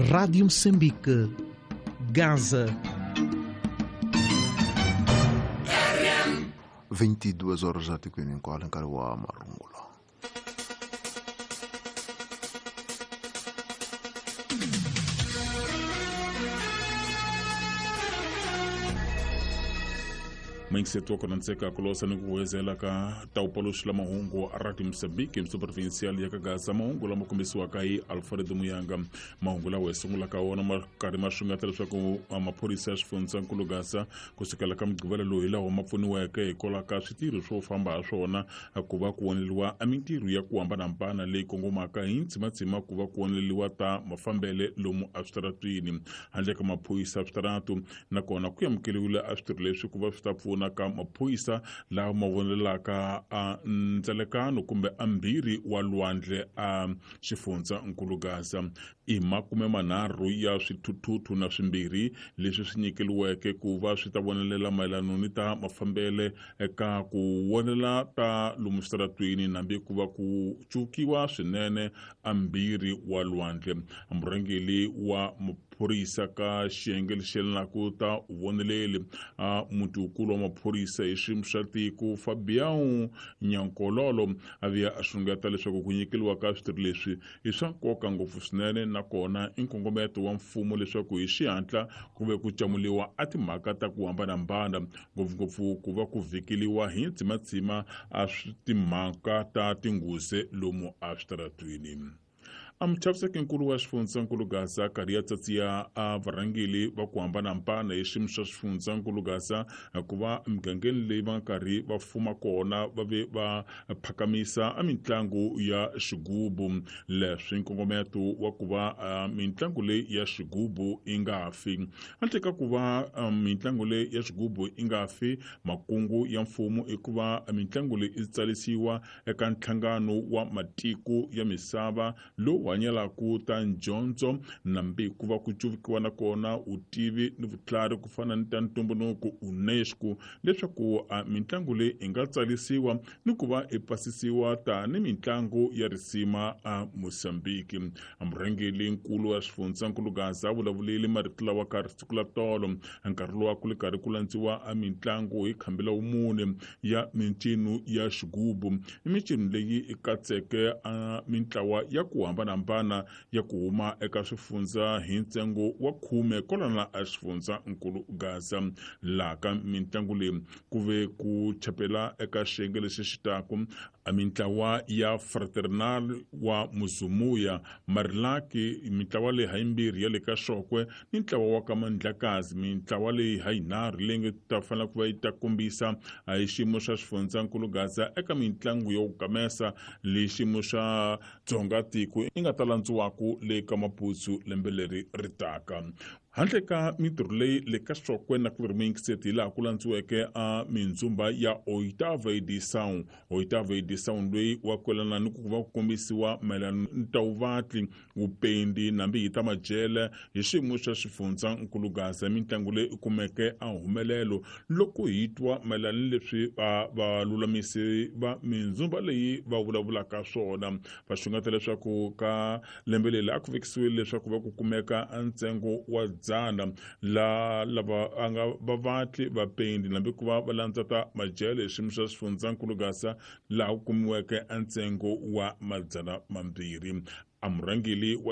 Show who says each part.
Speaker 1: Rádio Moçambique, Gaza.
Speaker 2: 22 horas atikweni hinkwalo nkarhi wa marungula.
Speaker 3: Muyingiseti wa kona ntseka ku losa ni ku huwezela ka tawupaloxi la mahungu a Radio Mozambique provincial ya ka Gaza, mahungu lama kombisiwaka hi Alfred Muyanga. Mahungu lawa hi sungulaka wona ma karhi ma xungeta leswaku maphorisa ya xifundzankulu Gaza kusukela ka Mugqivela lowu hi lawa ma pfuniweke hikwalaho ka switirho swo famba ha swona ku va ku oneliwa a mintirho ya ku hambanahambana leyi kongomaka hi ntsimatsima ku va ku oneliwa ta mafambele lomu eswitaratwini handle ka maphorisa switaratu. Nakona ku amukeriwile a switirho leswi ku va swi ta pfuna ka maphorisa lawa ma vonelaka a ndzelekano kumbe a mbirhi wa lwandle a xifundzankulu Gaza. I 30 ya swithuthuthu na swimbirhi leswi swi nyikeliweke ku va swi ta vonelela mayelano ni ta mafambele eka ku vonela ta lomu switaratwini nambi ku va ku cukiwa swinene a mbirhi wa lwandle. Murhangeri wa maphorisa ka xiyenge lexi yelanaka ta voneleli a mutikulu wa maphorisa hi xiyimo xa tiko Fabian Nyankololo a vuya a xungeta leswaku ku nyikeliwa ka switirho leswi i swa nkoka ngopfu swinene, nakona i nkongometo wa mfumo leswaku hi xihatla ku ve ku camuliwa a timhaka ta ku hambanahambana, ngopfungopfu ku va ku vhikeliwa hi ntsimatsima a timhaka ta tinghozi lomu eswitaratwini. A muchaviseki-nkulu wa xifundzankulu Gaza karhi ya tsatsiya a varhangeri va ku hambanahambana hi xiyimo xa xifundzankulu Gaza ku va emigangeni leyi va nga karhi va fuma kona va ve va phakamisa a mitlangu ya xigubu. Leswi nkongometo wa ku va mitlangu leyi ya xigubu yi nga fi. Handle ka ku va mitlangu leyi ya xigubu yi nga fi, makungu ya mfumo i ku va mitlangu leyi yi tsarisiwa eka nhlangano wa matiko ya misava lowu hanyelaka ta ndyondzo nambi ku va ku cuvukiwa na kona vutivi ni vutlhari ku fana ni ta ntumbuluko UNESCO, leswaku mitlangu leyi yi nga tsarisiwa ni ku va yi pasisiwa tani mitlangu ya risima a Mozambique. Murhangeri nkulu wa xifundzankulu Gaza a vulavulile marito lawa ka siku la tolo nkarhi lowu a ku ri karhi ku landziwa a mitlangu hi khambela wumune ya mincino ya xigubu. I mincino leyi yi katseke a mintlawa ya ku hambanahambana ya ku huma eka swifundza hi ntsengo wa 10 kwalana a xifundzankulu Gaza. Laha ka mitlangu leyi ku ve ku chapela eka xiyenge lexi xi taku a mintlawa ya Fraternal wa Muzumuya, Marilaki, mintlawa leyi hayimbirhi ya le ka Xokwe ni ntlawa wa ka Mandlakazi, mintlawa leyi hayinharhu leyi nga ta fanela ku va yi ta kombisa hi xiyimo xa xifundzankulu Gaza eka mitlangu yo gamesa leyi xiyimo xa Dzonga tiko yi nga ta landziwaku le ka Maputo lembe leri ri taka. Handle ka mintirho leyi le ka Xokwe na ku ri muyingiseti hi laha ku landziweke a mindzumba ya Oitava Edição. Oitava Edição loyi wa kwelana ni ku va ku kombisiwa mayelana ni ta vuvatli, vupendi nambi hi ta majele hi xiyimo xa xifundzankulu Gaza. Mitlangu leyi kumeke a humelelo loko hi twa mayelana ni leswi valulamisi va mindzumba leyi va vulavulaka swona. Va xungeta leswaku ka lembe leri a ku vekisiwile leswaku va ku kumeka ntsengo wa 100 la lava a nga vavatli vapendi nambi ku va va landza ta majele hi xiyimo xa xifundzankulu Gaza laha ku kumiweke ntsengo wa 200. A murhangeri wa